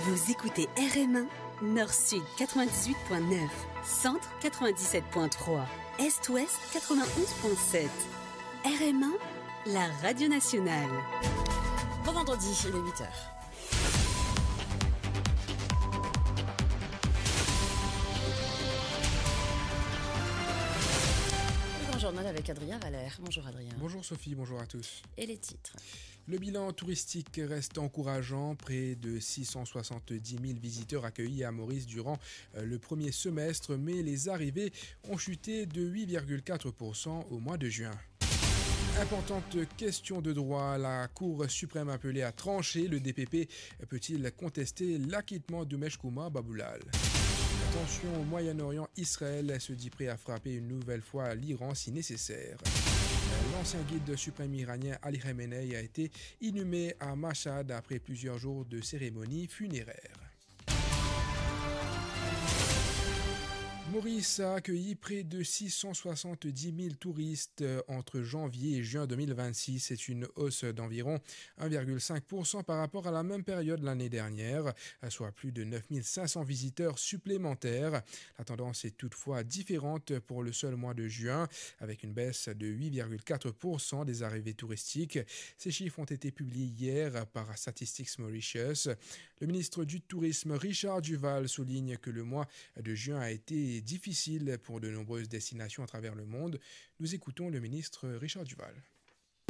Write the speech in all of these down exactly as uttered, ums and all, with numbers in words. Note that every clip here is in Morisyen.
Vous écoutez R M un, Nord-Sud quatre-vingt-dix-huit point neuf, Centre quatre-vingt-dix-sept point trois, Est-Ouest quatre-vingt-onze point sept. R M un, la radio nationale. Bon vendredi, il est huit heures. Le grand journal avec Adrien Valère. Bonjour Adrien. Bonjour Sophie, bonjour à tous. Et les titres. Le bilan touristique reste encourageant. Près de six cent soixante-dix mille visiteurs accueillis à Maurice durant, euh, le premier semestre, mais les arrivées ont chuté de huit virgule quatre pour cent au mois de juin. Importante question de droit, la Cour suprême appelée à trancher. Le D P P peut-il contester l'acquittement d'Umesh Kumar Babulal ? Attention au Moyen-Orient, Israël se dit prêt à frapper une nouvelle fois l'Iran si nécessaire. L'ancien guide suprême iranien Ali Khamenei a été inhumé à Mashhad après plusieurs jours de cérémonie funéraire. Maurice a accueilli près de six cent soixante-dix mille touristes, euh, entre janvier et juin deux mille vingt-six. C'est une hausse d'environ un virgule cinq pour cent par rapport à la même période l'année dernière, soit plus de neuf mille cinq cents visiteurs supplémentaires. La tendance est toutefois différente pour le seul mois de juin, avec une baisse de huit virgule quatre pour cent des arrivées touristiques. Ces chiffres ont été publiés hier par Statistics Mauritius. Le ministre du Tourisme, Richard Duval, souligne que le mois de juin a été difficile pour de nombreuses destinations à travers le monde. Nous écoutons le ministre Richard Duval.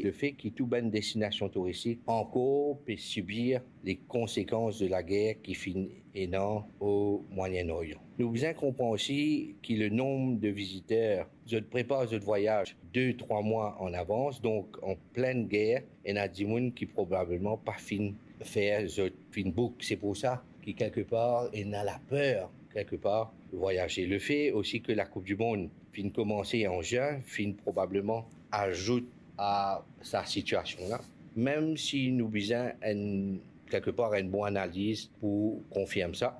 Le fait que tou bann destinasion touristik ankor pe sibir les konsekans de lager ki finn ena o Moyen-Orient. Nou bizin konpran osi ki le nonb de viziter, zot prepar zot vwayaz de, trwa mwa an avans, donk an plin ger, ena dimoun ki probableman pa finn fer zot, finn book. Se pou sa ki kelkepar ena laper, kelkepar, vwayaze. Le fe osi ke la Koup di Mond finn koumanse an zin, finn probableman azout a sa sitiasion la, mem si nou bizin enn, kelkepar, enn bon analiz pou konfirm sa.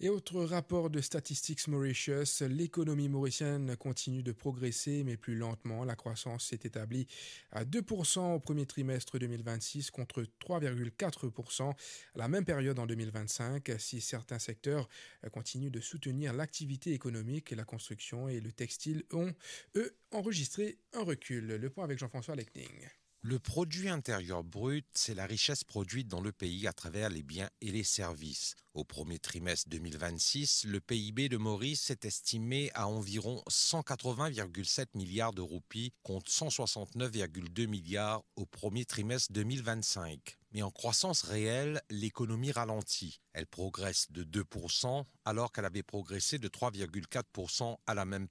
Et autre rapport de Statistics Mauritius, l'économie mauricienne continue de progresser, mais plus lentement. La croissance s'est établie à deux pour cent au premier trimestre deux mille vingt-six contre trois virgule quatre pour cent à la même période en deux mille vingt-cinq. Si certains secteurs, euh, continuent de soutenir l'activité économique, la construction et le textile ont, eux, enregistré un recul. Le point avec Jean-François Lechning. Le produit intérieur brut, c'est la richesse produite dans le pays à travers les biens et les services. Au premier trimestre deux mille vingt-six, le P I B de Maurice est estimé à environ cent quatre-vingts virgule sept milliards de roupies contre cent soixante-neuf virgule deux milliards au premier trimestre deux mille vingt-cinq. Mais en croissance réelle, l'économie ralentit. Elle progresse de deux pour cent, alors qu'elle avait progressé de trois virgule quatre pour cent à la même